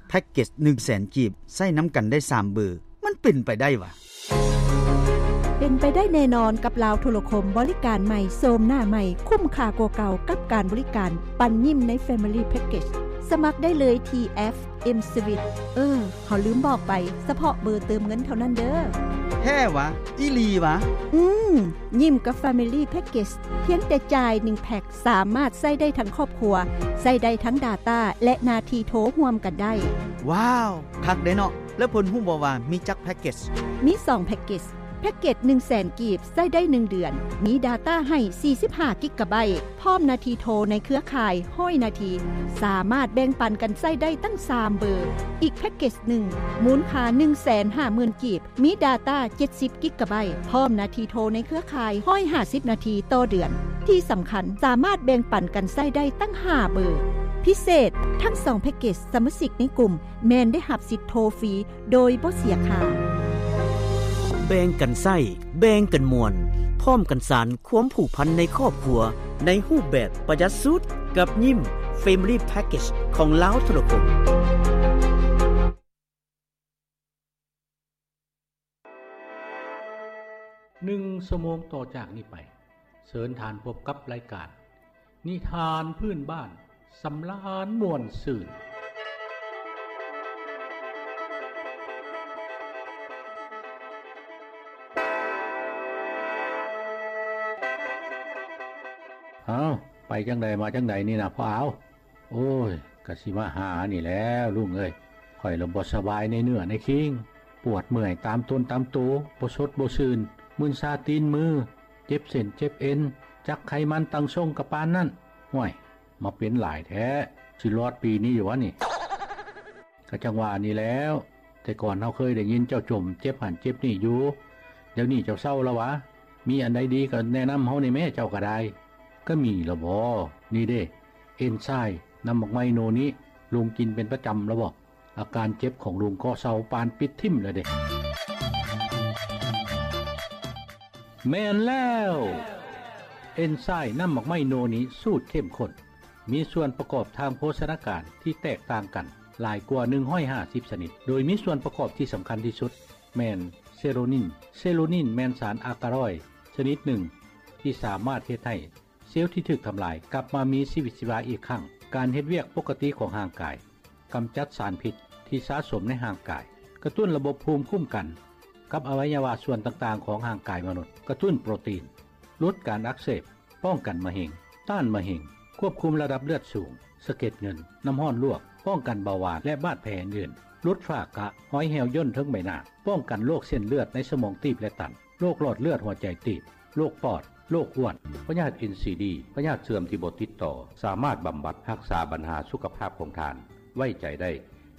ແພັກເກັດໜຶ່ງແສນກີບ ໃຊ້ນຳກັນໄດ້ສາມເບີ ມັນເປັນໄປໄດ້ຫວາ? ເປັນໄປໄດ້ແນ່ນອນກັບລາວໂທລະຄົມ ບໍລິການໃໝ່ ໂສມໜ້າໃໝ່ ຄຸ້ມຄ່າກວ່າເກົ່າກັບການບໍລິການປັນຍິ້ມໃນ Family Package. ສະໝັກໄດ້ເລີຍທີ່ແອັບ M-Swiss. ເອີ ເຮົາລືມບອກໄປ, ສະເພາະເບີເຕີມເງິນເທົ່ານັ້ນເດີ. ແທ້ຫວາ? ອີ່ຫຼີຫວາ? ອືມ, ຍິ້ມກັບ Family Package ພຽງແຕ່ຈ່າຍໜຶ່ງແພັກ ສາມາດໃຊ້ໄດ້ທັງຄອບຄົວ, ໃຊ້ໄດ້ທັງ data ແລະ ໜ້າທີ່ໂທຮ່ວມກັນໄດ້. ວ້າວ! ຄັກເດເນາະ. ແລ້ວເພິ່ນຮູ້ບໍ່ວ່າມີຈັກແພັກເກັດ? ມີສອງແພັກເກັດ. ແພັກເກັດໜຶ່ງແສນກີບ ໃຊ້ໄດ້ໜຶ່ງເດືອນ, ມີ data ໃຫ້ສີ່ສິບຫ້າກິກກະໄບ, ພ້ອມໜ້າທີ່ໂທໃນເຄືອຂ່າຍຮ້ອຍນາທີ, ສາມາດແບ່ງປັນກັນໃຊ້ໄດ້ຕັ້ງສາມເບີ. ອີກແພັກເກັດໜຶ່ງ ມູນຄ່າໜຶ່ງແສນຫ້າໝື່ນກີບ, ມີ data ເຈັດສິບກິກກະໄບ, ພ້ອມໜ້າທີ່ໂທໃນເຄືອຂ່າຍຮ້ອຍຫ້າສິບນາທີຕໍ່ເດືອນ. ທີ່ສຳຄັນ, ສາມາດແບ່ງປັນກັນໃຊ້ໄດ້ຕັ້ງຫ້າເບີ. ພິເສດ, ທັງສອງແພັກເກັດສະມາຊິກໃນກຸ່ມ ແມ່ນໄດ້ຮັບສິດໂທຟຣີໂດຍບໍ່ເສຍຄ່າ. ແບ່ງກັນໃຊ້, ແບ່ງກັນມ່ວນ, ພ້ອມກັນສານຄວາມຜູກພັນໃນຄອບຄົວ ໃນຮູບແບບປະຢັດສຸດ ກັບຍິ້ມ Family Package ຂອງລາວໂທລະຄົມ. ໜຶ່ງຊົ່ວໂມງຕໍ່ຈາກນີ້ໄປ, ເຊີນທ່ານພົບກັບລາຍການ ນິທານພື້ນບ້ານ ສຳລານມ່ວນຊື່ນ. ອ້າວ ໄປຈັ່ງໃດມາຈັ່ງໃດນີ້ນະພໍ່ອາວ? ໂອ້ຍ ກະຊິມາຫານີ້ແຫຼະລຸງເອີຍ. ຂ້ອຍລະບໍ່ສະບາຍໃນເນື້ອໃນຄີງ, ປວດເມື່ອຍຕາມຕົນຕາມໂຕ, ບໍ່ສົດບໍ່ຊື່ນ, ມຶນຊາຕີນມື, ເຈັບເສັ້ນເຈັບເອັນ, ຈັກໄຂມັນຕັ້ງຊົງກະປານນັ້ນ. ຫ້ວຍ ມາເປັນຫຼາຍແທ້, ຊິລອດປີນີ້ຢູ່ຫວານີ້? ກະຈັ່ງວ່ານີ້ແຫຼ້ວ, ແຕ່ກ່ອນເຮົາເຄີຍໄດ້ຍິນເຈົ້າຈົ່ມເຈັບຫັ້ນເຈັບນີ້ຢູ່, ດຽວນີ້ເຈົ້າເຊົາລະຫວາ? ມີອັນໃດດີກະແນະນຳເຮົາແດ່ແມ້ ເຈົ້າກະໄດ້. ກະມີລະບໍ? ນີ້ເດ້ ເອັນໄຊມນ້ຳໝາກໄມ້ໂນນິ, ລຸງກິນເປັນປະຈຳລະບໍ? ອາການເຈັບຂອງລຸງກໍເຊົາປານປິດຖິ້ມລະເດ້. ແມ່ນແລ້ວ! ເອັນໄຊນ້ຳໝາກໄມ້ໂນນິສູດເຂັ້ມຂຸ້ນ ມີສ່ວນປະກອບທາງໂພຊະນາການທີ່ແຕກຕ່າງກັນຫຼາຍກວ່າໜຶ່ງຮ້ອຍຫ້າສິບຊະນິດ, ໂດຍມີສ່ວນປະກອບທີ່ສຳຄັນທີ່ສຸດແມ່ນເຊໂຣນິນ. ເຊໂຣນິນແມ່ນສານອາກາຣອຍຊະນິດໜຶ່ງທີ່ສາມາດເຮັດໃຫ້ ເຊວທີ່ຖືກທຳລາຍກັບມາມີຊີວິດຊີວາອີກຄັ້ງ, ການເຮັດວຽກປົກກະຕິຂອງຮ່າງກາຍ, ກຳຈັດສານພິດທີ່ສະສົມໃນຮ່າງກາຍ, ກະຕຸ້ນລະບົບພູມຄຸ້ມກັນກັບອະໄວຍະວະສ່ວນຕ່າງໆຂອງຮ່າງກາຍມະນຸດ, ກະຕຸ້ນໂປຣຕີນ, ຫຼຸດການອັກເສບ, ປ້ອງກັນມະເຮັງ, ຕ້ານມະເຮັງ, ຄວບຄຸມລະດັບເລືອດສູງ, ສະເກັດເງິນ, ນ້ຳຮ້ອນລວກ, ປ້ອງກັນເບົາຫວານ ແລະ ບາດແຜອື່ນໆ, ຫຼຸດຝ້າກະ, ຮອຍແຫ້ວຍ່ນເທິງໃບໜ້າ, ປ້ອງກັນໂລກເສັ້ນເລືອດໃນສະໝອງຕີບ ແລະ ຕັນ. ໂລກຫຼອດເລືອດຫົວໃຈຕີບ, ໂລກປອດ, ໂລກອ້ວນ, ພະຍາດເອັນຊີດີ, ພະຍາດເຊື່ອມທີ່ບໍ່ຕິດຕໍ່, ສາມາດບຳບັດຮັກສາບັນຫາສຸຂະພາບຂອງທ່ານ. ໄວ້ໃຈໄດ້,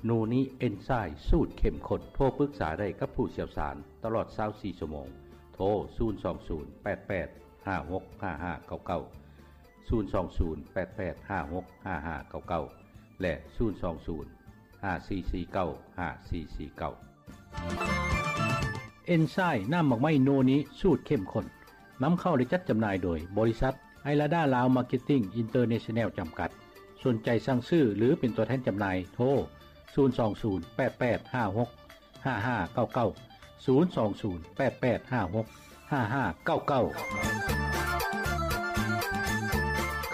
ໂນນິເອັນໄຊສູດເຂັ້ມຂຸ້ນ. ໂທປຶກສາໄດ້ກັບຜູ້ຊ່ຽວຊານຕະຫຼອດຊາວສີ່ຊົ່ວໂມງ. ໂທ ສູນສອງສູນ ແປດແປດ ຫ້າຫົກ ຫ້າຫ້າເກົ້າເກົ້າ, ສູນສອງສູນ ແປດແປດ ຫ້າຫົກ ຫ້າຫ້າເກົ້າເກົ້າ ແລະ ສູນສອງສູນ ຫ້າສີ່ສີ່ເກົ້າ ຫ້າສີ່ສີ່ເກົ້າ. ເອັນໄຊນ້ຳໝາກໄມ້ໂນນິສູດເຂັ້ມຂຸ້ນ ນຳເຂົ້າ ແລະ ຈັດຈຳໜ່າຍໂດຍບໍລິສັດໄອລາດາລາວມາເກັດຕິ້ງອິນເຕີເນຊັນແນວຈຳກັດ. ສົນໃຈສັ່ງຊື້ ຫຼື ເປັນຕົວແທນຈຳໜ່າຍ ໂທ ສູນສອງສູນ ແປດແປດ ຫ້າຫົກ ຫ້າຫ້າເກົ້າເກົ້າ, ສູນສອງສູນ ແປດແປດ ຫ້າຫົກ ຫ້າຫ້າເກົ້າເກົ້າ.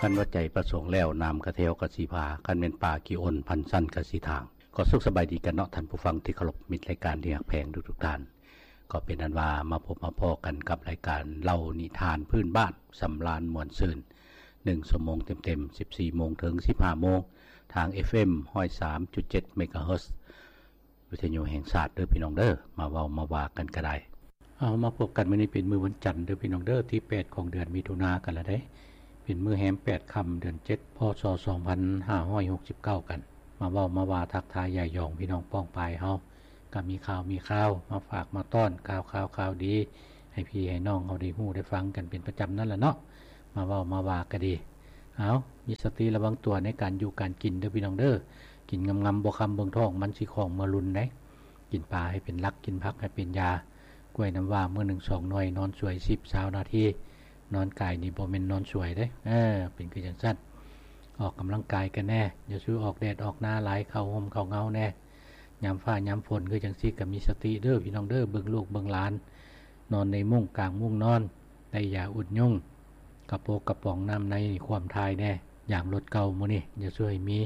ຄັນວ່າໃຈປະສົງແລ້ວ ນ້ຳກະແທວກະຊິພາ, ຄັນແມ່ນປ່າຂີ້ອົນ ພັນຊັ້ນກະຊິທາງ. ກໍສຸກສະບາຍດີກັນເນາະ ທ່ານຜູ້ຟັງທີ່ເຄົາລົບ, ມິດລາຍການທີ່ຮັກແພງທຸກໆທ່ານ. ກໍເປັນອັນວ່າມາພົບມາພໍ້ກັນກັບລາຍການເລົ່ານິທານພື້ນບ້ານ ສຳລານມ່ວນຊື່ນ ໜຶ່ງຊົ່ວໂມງເຕັມໆ ສິບສີ່ໂມງເຖິງສິບຫ້າໂມງ ທາງ ເອັຟເອັມ ຮ້ອຍສາມຈຸດເຈັດ ເມກາເຮີດ ວິທະຍຸແຫ່ງຊາດເດີພີ່ນ້ອງເດີ, ມາເວົ້າມາວ່າກັນກະໄດ້. ເອົາ ມາພົບກັນມື້ນີ້ເປັນມື້ວັນຈັນເດີພີ່ນ້ອງເດີ, ທີແປດຂອງເດືອນມິຖຸນາກັນລະເດ້, ເປັນມື້ແຮມແປດຄ່ຳເດືອນເຈັດ ພ.ສ. ສອງພັນຫ້າຮ້ອຍຫົກສິບເກົ້າກັນ. ມາເວົ້າມາວ່າທັກທາຍຢາຍຢອງພີ່ນ້ອງປ້ອງປາຍເຮົາ, ກະມີຂ່າວມີຄາວມາຝາກມາຕ້ອນ, ຂ່າວຄາວຂ່າວດີ ໃຫ້ພີ່ໃຫ້ນ້ອງເຮົາໄດ້ຮູ້ໄດ້ຟັງກັນເປັນປະຈຳນັ້ນລະເນາະ. ມາເວົ້າມາວ່າກະດີ. ເອົາ ມີສະຕິລະວັງຕົວໃນການຢູ່ການກິນເດີພີ່ນ້ອງເດີ. ກິນງາມໆ ບໍ່ຄຳເບິ່ງທ້ອງ ມັນຊິຂອງເມືອລຸນໃດ໋. ກິນປາໃຫ້ເປັນຫຼັກ, ກິນຜັກໃຫ້ເປັນຢາ. ກ້ວຍນ້ຳວ້າມື້ໜຶ່ງສອງໜ່ວຍ, ນອນສວຍສິບ ຊາວນາທີ. ນອນກາຍນີ້ບໍ່ແມ່ນນອນສວຍເດ້, ເອີ ເປັນຄືຈັ່ງຊັ້ນ. ອອກກຳລັງກາຍກັນແດ່, ຢ່າສູ່ອອກແດດອອກໜ້າຫຼາຍ, ເຂົ້າຮົ່ມເຂົ້າເງົາແດ່. ຍາມຟ້າຍາມຝົນຄືຈັ່ງຊີ້ກໍມີສະຕິເດີພີ່ນ້ອງເດີ ເບິ່ງລູກເບິ່ງຫຼານ ນອນໃນມຸ້ງກາງມຸ້ງນອນ ໄດ້ຢາອຸດຍຸງ ກະໂປກກະປ໋ອງນ້ຳໃນຄວາມຖ່າຍແດ່ ຢາມລົດເກົ່າມື້ນີ້ ຢ່າຊ່ວຍມີ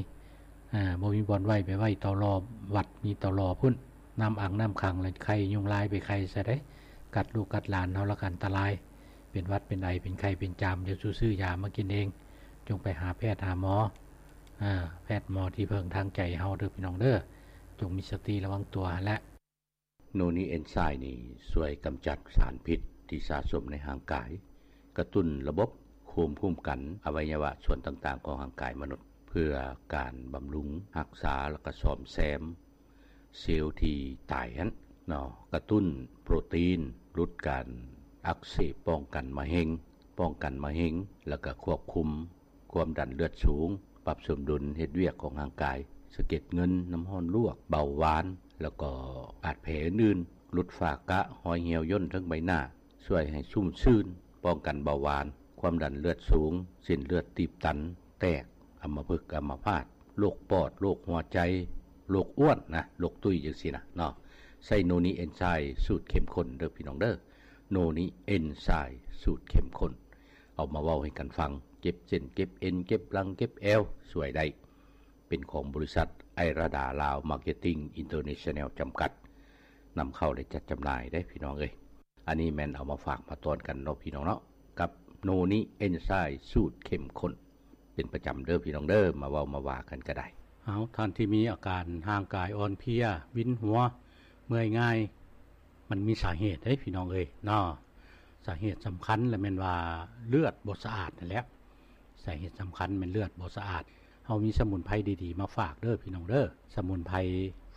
ອ່າ ບໍ່ມີບ່ອນໄວ້ ໄປໄວ້ເຕົາລໍ ວັດມີເຕົາລໍພຸ້ນ ນ້ຳອັ່ງນ້ຳຂັງ ແລ້ວໄຂ່ຍຸງລາຍໄປໄຂ່ໃສ່ໄດ໋ ກັດລູກກັດຫຼານເຮົາລະກະອັນຕະລາຍ ເປັນຫວັດເປັນໄອ ເປັນໄຂ້ເປັນຈາມ ຢ່າສູ່ຊື້ຢາມາກິນເອງ ຈົ່ງໄປຫາແພດຫາໝໍ ອາ ແພດໝໍທີ່ເພິ່ງທາງໃຈເຮົາເດີພີ່ນ້ອງເດີ ຈົ່ງມີສະຕິລະວັງຕົວຫັ້ນແຫຼະ. ໂນນິເອນໄຊນີ້ຊ່ວຍກຳຈັດສານພິດທີ່ສະສົມໃນຮ່າງກາຍ, ກະຕຸ້ນລະບົບພູມຄຸ້ມກັນອະໄວຍະວະສ່ວນຕ່າງໆຂອງຮ່າງກາຍມະນຸດ ເພື່ອການບຳລຸງ, ຮັກສາ ແລະກະສ້ອມແຊມເຊວທີ່ຕາຍຫັ້ນເນາະ, ກະຕຸ້ນໂປຣຕີນ, ຫຼຸດການອັກເສບ, ປ້ອງກັນມະເຮັງ, ປ້ອງກັນມະເຮັງ ແລະກະຄວບຄຸມ ຄວາມດັນເລືອດສູງ, ປັບສົມດຸນເຮັດວຽກຂອງຮ່າງກາຍ, ສະເກັດເງິນ, ນ້ຳຮ້ອນລວກ, ເບົາຫວານ ແລ້ວກໍບາດແຜອື່ນໆ, ຫຼຸດຝ້າກະ, ຮອຍຫ່ຽວຍ່ນເທິງໃບໜ້າ, ຊ່ວຍໃຫ້ຊຸ່ມຊື່ນ, ປ້ອງກັນເບົາຫວານ, ຄວາມດັນເລືອດສູງ, ເສັ້ນເລືອດຕີບຕັນ, ແຕກ, ອຳມະພຶກ, ອຳມະພາດ, ໂລກປອດ, ໂລກຫົວໃຈ, ໂລກອ້ວນນະ, ໂລກຕຸ້ຍຈັ່ງຊີ້ນະເນາະ. ໃຊ້ໂນນິເອນໄຊສູດເຂັ້ມຂຸ້ນເດີພີ່ນ້ອງເດີ. ໂນນິເອນໄຊສູດເຂັ້ມຂຸ້ນ ເອົາມາເວົ້າໃຫ້ກັນຟັງ, ເຈັບເສັ້ນເຈັບເອັນ ເຈັບຫຼັງເຈັບແອວ ຊ່ວຍໄດ້. ເປັນຂອງບໍລິສັດໄອລາດາລາວມາເກັດຕິ້ງອິນເຕີເນຊັນແນວຈຳກັດ ນຳເຂົ້າ ແລະ ຈັດຈຳໜ່າຍເດ້ພີ່ນ້ອງເອີຍ. ອັນນີ້ແມ່ນເອົາມາຝາກມາຕ້ອນກັນເນາະພີ່ນ້ອງເນາະ ກັບໂນນິເອນໄຊສູດເຂັ້ມຂຸ້ນ ເປັນປະຈຳເດີພີ່ນ້ອງເດີ ມາເວົ້າມາວ່າກັນກະໄດ້. ເອົາ ທ່ານທີ່ມີອາການຮ່າງກາຍອ່ອນເພຍ, ວິນຫົວ, ເມື່ອຍງ່າຍ ມັນມີສາເຫດເດ້ພີ່ນ້ອງເອີຍເນາະ. ສາເຫດສຳຄັນລະແມ່ນວ່າເລືອດບໍ່ສະອາດຫັ້ນແຫຼະ. ສາເຫດສຳຄັນແມ່ນເລືອດບໍ່ສະອາດ. ເຮົາມີສະໝຸນໄພດີໆມາຝາກເດີພີ່ນ້ອງເດີ. ສະໝຸນໄພ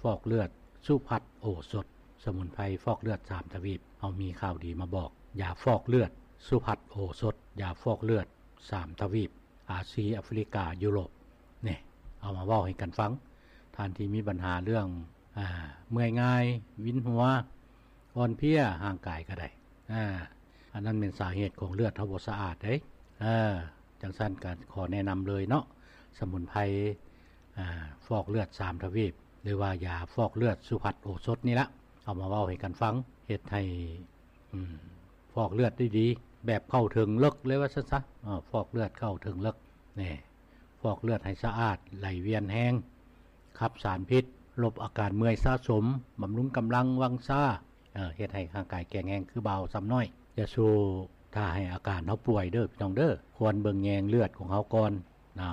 ຟອກເລືອດສຸພັດໂອສົດ, ສະໝຸນໄພຟອກເລືອດສາມທະວີບ. ເຮົາມີຂ່າວດີມາບອກ. ຢາຟອກເລືອດສຸພັດໂອສົດ, ຢາຟອກເລືອດສາມທະວີບ, ອາຊີ, ອາຟຣິກາ, ຢູໂຣບ. ນີ້ ເອົາມາເວົ້າໃຫ້ກັນຟັງ. ທ່ານທີ່ມີບັນຫາເລື່ອງ ອ່າ ເມື່ອຍງ່າຍ, ວິນຫົວ, ອ່ອນເພຍຮ່າງກາຍກະໄດ້ ອ່າ ອັນນັ້ນແມ່ນສາເຫດຂອງເລືອດເຮົາບໍ່ສະອາດເດ້. ເອີ ຈັ່ງຊັ້ນກະຂໍແນະນຳເລີຍເນາະ ສະໝຸນໄພ ອ່າ ຟອກເລືອດສາມທະວີບ ຫຼືວ່າຢາຟອກເລືອດສຸພັດໂອສົດນີ້ລະ ເອົາມາເວົ້າໃຫ້ກັນຟັງ ເຮັດໃຫ້ ອືມ ຟອກເລືອດໄດ້ດີ ແບບເຂົ້າເຖິງເລິກເລີຍວ່າຊັ້ນຊະ. ເອີ ຟອກເລືອດເຂົ້າເຖິງເລິກ ນີ້ ຟອກເລືອດໃຫ້ສະອາດ ໄຫຼວຽນແຮງ ຂັບສານພິດ ລົບອາການເມື່ອຍສະສົມ ບຳລຸງກຳລັງວັງຊາ ເອີ ເຮັດໃຫ້ຮ່າງກາຍແຂງແຮງຄືບ່າວຊຳນ້ອຍ. ຢ່າສູ່ຖ້າໃຫ້ອາການເຮົາປ່ວຍເດີພີ່ນ້ອງເດີ. ຄວນເບິ່ງແຍງເລືອດຂອງເຮົາກ່ອນນະ.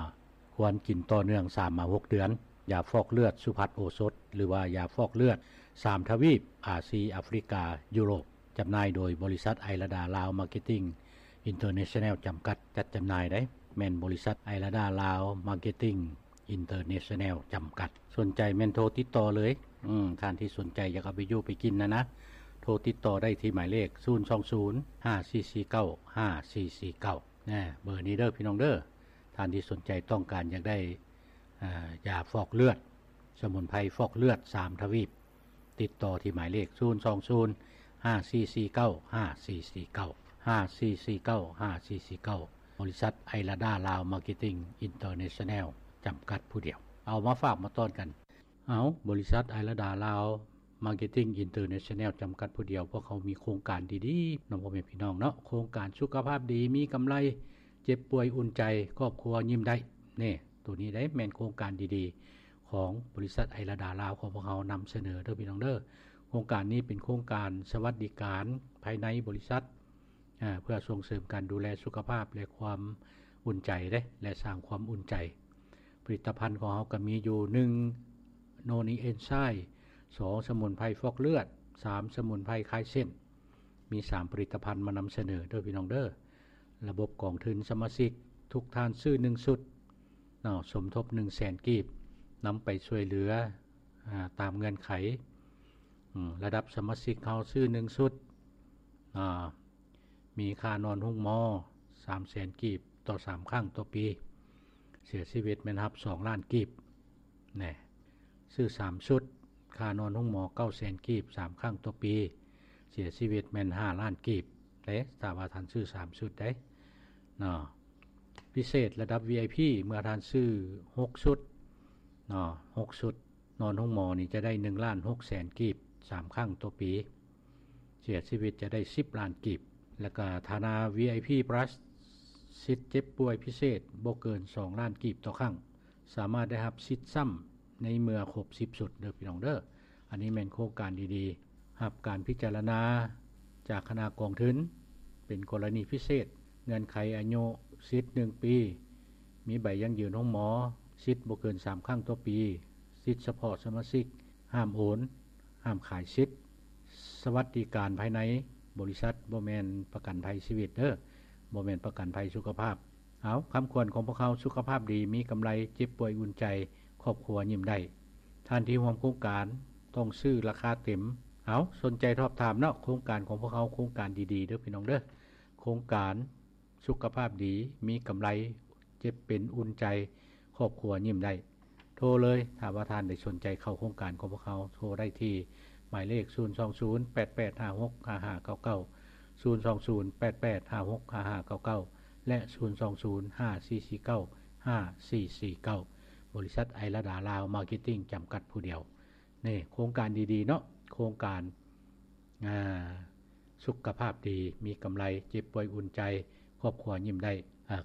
ຄວນກິນຕໍ່ເນື່ອງສາມມາຫົກເດືອນ. ຢາຟອກເລືອດສຸພັດໂອສົດ ຫຼືວ່າຢາຟອກເລືອດສາມທະວີບ ອາຊີ, ອາຟຣິກາ, ຢູໂຣບ. ຈຳໜ່າຍໂດຍບໍລິສັດໄອລາດາລາວມາເກັດຕິ້ງອິນເຕີເນຊັນແນວຈຳກັດ ຈັດຈຳໜ່າຍໄດ໋. ແມ່ນບໍລິສັດໄອລາດາລາວມາເກັດຕິ້ງອິນເຕີເນຊັນແນວຈຳກັດ. ສົນໃຈແມ່ນໂທຕິດຕໍ່ເລີຍ. ອືມ ທ່ານທີ່ສົນໃຈຢາກເອົາໄປຢູ່ໄປກິນນະນະ ໂທຕິດຕໍ່ໄດ້ທີ່ໝາຍເລກ ສູນສອງສູນ ຫ້າສີ່ສີ່ເກົ້າ ຫ້າສີ່ສີ່ເກົ້າ ນະ ເບີນີ້ເດີພີ່ນ້ອງເດີ. ທ່ານທີ່ສົນໃຈຕ້ອງການຢາກໄດ້ ອ່າ ຢາຟອກເລືອດ ສະໝຸນໄພຟອກເລືອດສາມທະວີບ ຕິດຕໍ່ທີ່ໝາຍເລກ ສູນສອງສູນ ຫ້າສີ່ສີ່ເກົ້າ ຫ້າສີ່ສີ່ເກົ້າ ຫ້າສີ່ສີ່ເກົ້າ ຫ້າສີ່ສີ່ເກົ້າ ບໍລິສັດໄອລາດາລາວມາເກັດຕິ້ງອິນເຕີເນຊັນແນວຈຳກັດຜູ້ດຽວ. ເອົາມາຝາກມາຕ້ອນກັນ. ເອົາ ບໍລິສັດໄອລາດາລາວມາເກັດຕິ້ງອິນເຕີເນຊັນແນວຈຳກັດຜູ້ດຽວ ພວກເຮົາມີໂຄງການດີໆ ນຳພໍ່ແມ່ພີ່ນ້ອງເນາະ. ໂຄງການສຸຂະພາບດີ ມີກຳໄລ ເຈັບປ່ວຍອຸ່ນໃຈ ຄອບຄົວຍິ້ມໄດ້. ນີ້ ໂຕນີ້ໄດ໋ແມ່ນໂຄງການດີໆ ຂອງບໍລິສັດໄອລາດາລາວຂອງພວກເຮົານຳສະເໜີເດີພີ່ນ້ອງເດີ. ໂຄງການນີ້ເປັນໂຄງການສະຫວັດດີການພາຍໃນບໍລິສັດ ອາ ເພື່ອສົ່ງເສີມການດູແລສຸຂະພາບ ແລະ ຄວາມອຸ່ນໃຈເດ້ ແລະ ສ້າງຄວາມອຸ່ນໃຈ. ຜະລິດຕະພັນຂອງເຮົາກະມີຢູ່ ໜຶ່ງ ໂນນີເອນໄຊ, ສອງ ສະໝຸນໄພຟອກເລືອດ, ສາມ ສະໝຸນໄພຄາຍເສັ້ນ. ມີສາມຜະລິດຕະພັນມານຳສະເໜີເດີພີ່ນ້ອງເດີ. ລະບົບກອງທຶນສະມາຊິກ ທຸກທ່ານຊື້ໜຶ່ງຊຸດເນາະ ສົມທົບໜຶ່ງແສນກີບ ນຳໄປຊ່ວຍເຫຼືອ ອາ ຕາມເງື່ອນໄຂ. ອາ ລະດັບສະມາຊິກເຮົາຊື້ໜຶ່ງຊຸດ ອາ ມີຄ່ານອນໂຮງໝໍສາມແສນກີບຕໍ່ສາມຄັ້ງຕໍ່ປີ, ເສຍຊີວິດແມ່ນຮັບສອງລ້ານກີບ. ແນ່ ຊື້ສາມຊຸດ ຄ່ານອນໂຮງໝໍເກົ້າແສນກີບສາມຄັ້ງຕໍ່ປີ, ເສຍຊີວິດແມ່ນຫ້າລ້ານກີບເດ້ ຖ້າວ່າທ່ານຊື້ສາມຊຸດເດ້ເນາະ. ພິເສດລະດັບວີໄອພີ ເມື່ອທ່ານຊື້ຫົກຊຸດເນາະ ຫົກຊຸດ ນອນໂຮງໝໍນີ້ຈະໄດ້ໜຶ່ງລ້ານຫົກແສນກີບ ສາມຄັ້ງຕໍ່ປີ, ເສຍຊີວິດຈະໄດ້ສິບລ້ານກີບ. ແລ້ວກະຖານະ ວີໄອພີ ພລັສ ສິດເຈັບປ່ວຍພິເສດບໍ່ເກີນສອງລ້ານກີບຕໍ່ຄັ້ງ, ສາມາດໄດ້ຮັບສິດຊ້ຳໃນເມື່ອຄົບສິບຊຸດເດີພີ່ນ້ອງເດີ. ອັນນີ້ແມ່ນໂຄງການດີໆ ຮັບການພິຈາລະນາຈາກຄະນະກອງທຶນ ເປັນກໍລະນີພິເສດ, ເງື່ອນໄຂອາຍຸສິດໜຶ່ງປີ, ມີໃບຢັ້ງຢືນໂຮງໝໍ, ສິດບໍ່ເກີນສາມຄັ້ງຕໍ່ປີ, ສິດສະເພາະສະມາຊິກ, ຫ້າມໂອນ, ຫ້າມຂາຍສິດ, ສະຫວັດດີການພາຍໃນບໍລິສັດ, ບໍ່ແມ່ນປະກັນໄພຊີວິດເດີ, ບໍ່ແມ່ນປະກັນໄພສຸຂະພາບ. ເອົາ, ຄຳຂວັນຂອງພວກເຮົາ, ສຸຂະພາບດີ, ມີກຳໄລ, ເຈັບປ່ວຍອຸ່ນໃຈ, ຄອບຄົວຍິ້ມໄດ້. ທ່ານທີ່ຮ່ວມໂຄງການຕ້ອງຊື້ລາຄາເຕັມ. ເອົາ, ສົນໃຈສອບຖາມເນາະ, ໂຄງການຂອງພວກເຮົາໂຄງການດີໆເດີພີ່ນ້ອງເດີ. ໂຄງການສຸຂະພາບດີ, ມີກຳໄລ, ເຈັບເປັນອຸ່ນໃຈ, ຄອບຄົວຍິ້ມໄດ້. ໂທເລີຍ, ຖ້າວ່າທ່ານໃດສົນໃຈເຂົ້າໂຄງການຂອງພວກເຮົາ, ໂທໄດ້ທີ່ໝາຍເລກ ສູນສອງສູນ ແປດແປດຫ້າຫົກ ຫ້າຫ້າເກົ້າເກົ້າ, ສູນສອງສູນ ແປດແປດຫ້າຫົກ ຫ້າຫ້າເກົ້າເກົ້າ ແລະ ສູນສອງສູນ ຫ້າສີ່ສີ່ເກົ້າ ຫ້າສີ່ສີ່ເກົ້າ. ບໍລິສັດໄອລະດາລາວມາເກັດຕິ້ງ ຈຳກັດຜູ້ດຽວ. ນີ້ໂຄງການດີໆເນາະ, ໂຄງການ ອ່າ ສຸຂະພາບດີ, ມີກຳໄລ, ເຈັບປ່ວຍອຸ່ນໃຈ, ຄອບຄົວຍິ້ມໄດ້.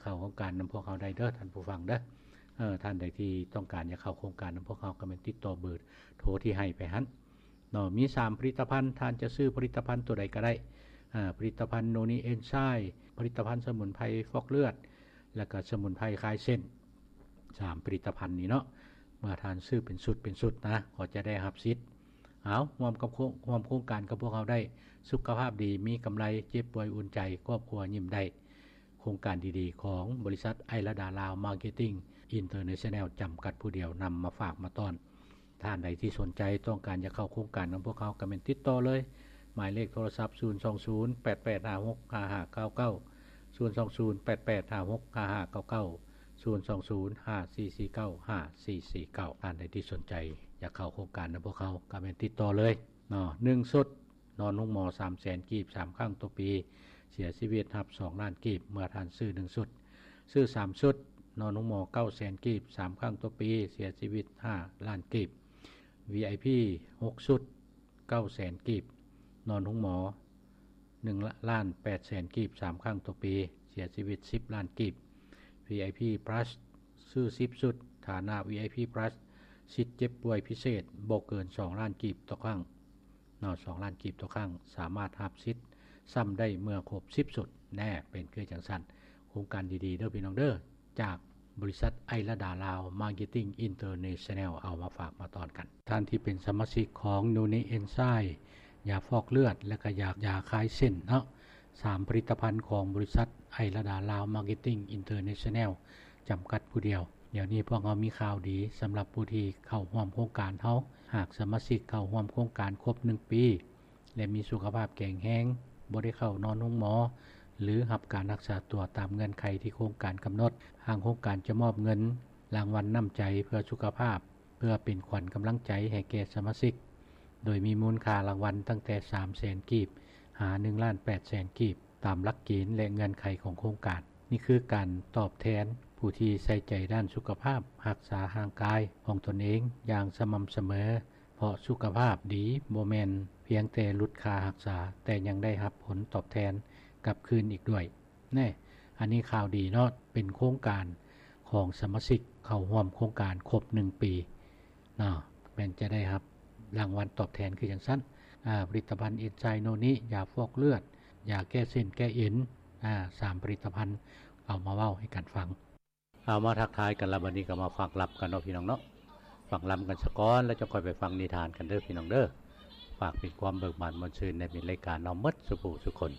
ເຂົ້າໂຄງການນຳພວກເຮົາໄດ້ເດີທ່ານຜູ້ຟັງເດີ. ເອີ ທ່ານໃດທີ່ຕ້ອງການຢາກເຂົ້າໂຄງການນຳພວກເຮົາ ກໍແມ່ນຕິດຕໍ່ເບີໂທທີ່ໃຫ້ໄປຫັ້ນເນາະ. ມີສາມຜະລິດຕະພັນ, ທ່ານຈະຊື້ຜະລິດຕະພັນຕົວໃດກໍໄດ້. ອາ ຜະລິດຕະພັນໂນນີເອນໄຊ, ຜະລິດຕະພັນສະໝຸນໄພຟອກເລືອດ ແລ້ວກໍສະໝຸນໄພຄາຍເສັ້ນ. ສາມຜະລິດຕະພັນນີ້ເນາະ, ເມື່ອທ່ານຊື້ເປັນຊຸດເປັນຊຸດນະ ກໍຈະໄດ້ຮັບສິດ. ເອົາ, ຮ່ວມກັບໂຄງ, ຮ່ວມໂຄງການກັບພວກເຮົາໄດ້, ສຸຂະພາບດີ, ມີກຳໄລ, ເຈັບປ່ວຍອຸ່ນໃຈ, ຄອບຄົວຍິ້ມໄດ້. ໂຄງການດີໆຂອງບໍລິສັດໄອລະດາລາວມາເກັດຕິ້ງອິນເຕີເນຊັນແນວ ຈຳກັດຜູ້ດຽວ ນຳມາຝາກມາຕ້ອນ. ທ່ານໃດທີ່ສົນໃຈຕ້ອງການຢາກເຂົ້າໂຄງການນຳພວກເຮົາ ກໍແມ່ນຕິດຕໍ່ເລີຍ. ໝາຍເລກໂທລະສັບ ສູນສອງສູນ ແປດແປດຫ້າຫົກ ຫ້າຫ້າເກົ້າເກົ້າ, ສູນສອງສູນ ແປດແປດຫ້າຫົກ ຫ້າຫ້າເກົ້າເກົ້າ, ສູນສອງສູນ ຫ້າສີ່ສີ່ເກົ້າ ຫ້າສີ່ສີ່ເກົ້າ. ທ່ານໃດທີ່ສົນໃຈຢາກເຂົ້າໂຄງການນຳພວກເຮົາ ກໍແມ່ນຕິດຕໍ່ເລີຍເນາະ. ໜຶ່ງຊຸດ ນອນໂຮງໝໍສາມແສນກີບ ສາມຄັ້ງຕໍ່ປີ, ເສຍຊີວິດຮັບສອງລ້ານກີບ ເມື່ອທ່ານຊື້ໜຶ່ງຊຸດ. ຊື້ສາມຊຸດ ນອນໂຮງໝໍເກົ້າແສນກີບ ສາມຄັ້ງຕໍ່ປີ, ເສຍຊີວິດຫ້າລ້ານກີບ. ວີໄອພີ ຫົກຊຸດ ເກົ້າແສນກີບ, ນອນໂຮງໝໍໜຶ່ງລ້ານແປດແສນກີບ ສາມຄັ້ງຕໍ່ປີ, ເສຍຊີວິດສິບລ້ານກີບ. ວີໄອພີ ພລັສ ຊື້ສິບຊຸດ, ຖານະ ວີໄອພີ ພລັສ ສິດເຈັບປ່ວຍພິເສດບໍ່ເກີນສອງລ້ານກີບຕໍ່ຄັ້ງເນາະ, ສອງລ້ານກີບຕໍ່ຄັ້ງ, ສາມາດຮັບສິດຊ້ຳໄດ້ເມື່ອຄົບສິບຊຸດ. ແນ່ ເປັນຄືຈັ່ງຊັ້ນ, ໂຄງການດີໆເດີພີ່ນ້ອງເດີ, ຈາກບໍລິສັດໄອລະດາລາວມາເກັດຕິ້ງອິນເຕີເນຊັນແນວ ເອົາມາຝາກມາຕ້ອນກັນ. ທ່ານທີ່ເປັນສະມາຊິກຂອງນູນີເອນໄຊ, ຢາຟອກເລືອດ ແລະ ກະຢາ, ຢາຄາຍເສັ້ນເນາະ, ສາມຜະລິດຕະພັນຂອງບໍລິສັດໄອລະດາລາວມາເກັດຕິ້ງອິນເຕີເນຊັນແນວ ຈຳກັດຜູ້ດຽວ. ດຽວນີ້ພວກເຮົາມີຂ່າວດີສຳລັບຜູ້ທີ່ເຂົ້າຮ່ວມໂຄງການເຮົາ. ຫາກສະມາຊິກເຂົ້າຮ່ວມໂຄງການຄົບໜຶ່ງປີ ແລະ ມີສຸຂະພາບແຂງແຮງ, ບໍ່ໄດ້ເຂົ້ານອນໂຮງໝໍ ຫຼື ຮັບການຮັກສາຕົວຕາມເງື່ອນໄຂທີ່ໂຄງການກຳນົດ, ທາງໂຄງການຈະມອບເງິນລາງວັນນ້ຳໃຈເພື່ອສຸຂະພາບ, ເພື່ອເປັນຂວັນກຳລັງໃຈໃຫ້ແກ່ສະມາຊິກ, ໂດຍມີມູນຄ່າລາງວັນຕັ້ງແຕ່ສາມແສນກີບ ຫາໜຶ່ງລ້ານແປດແສນກີບ ຕາມຫຼັກເກນ ແລະ ເງື່ອນໄຂຂອງໂຄງການ. ນີ້ຄືການຕອບແທນຜູ້ທີ່ໃສ່ໃຈດ້ານສຸຂະພາບ, ຮັກສາຮ່າງກາຍຂອງຕົນເອງຢ່າງສະໝ່ຳສະເໝີ, ເພາະສຸຂະພາບດີບໍ່ແມ່ນພຽງແຕ່ຫຼຸດຄ່າຮັກສາ, ແຕ່ຍັງໄດ້ຮັບຜົນຕອບແທນກັບຄືນອີກດ້ວຍ. ແນ່ ອັນນີ້ຂ່າວດີເນາະ, ເປັນໂຄງການຂອງສະມາຊິກເຂົ້າຮ່ວມໂຄງການຄົບໜຶ່ງປີເນາະ, ແມ່ນຈະໄດ້ຮັບລາງວັນຕອບແທນຄືຈັ່ງຊັ້ນ. ອາ ຜະລິດຕະພັນເອນໄຊໂນນິ, ຢາຟອກເລືອດ, ຢາແກ້ເສັ້ນແກ້ເອັນ, ອາ ສາມຜະລິດຕະພັນ ເອົາມາເວົ້າໃຫ້ກັນຟັງ. ເອົາ ມາທັກທາຍກັນລະ, ບັດນີ້ກໍມາຟັງລຳກັນເນາະ ພີ່ນ້ອງເນາະ. ຟັງລຳກັນສາກ່ອນ ແລ້ວຈະຄ່ອຍໄປຟັງນິທານກັນເດີ ພີ່ນ້ອງເດີ. ຝາກເປັນຄວາມເບີກບານມ່ວນຊື່ນໃນມິດລາຍການເຮົາໝົດສູ່ຜູ້ສູ່ຄົນ.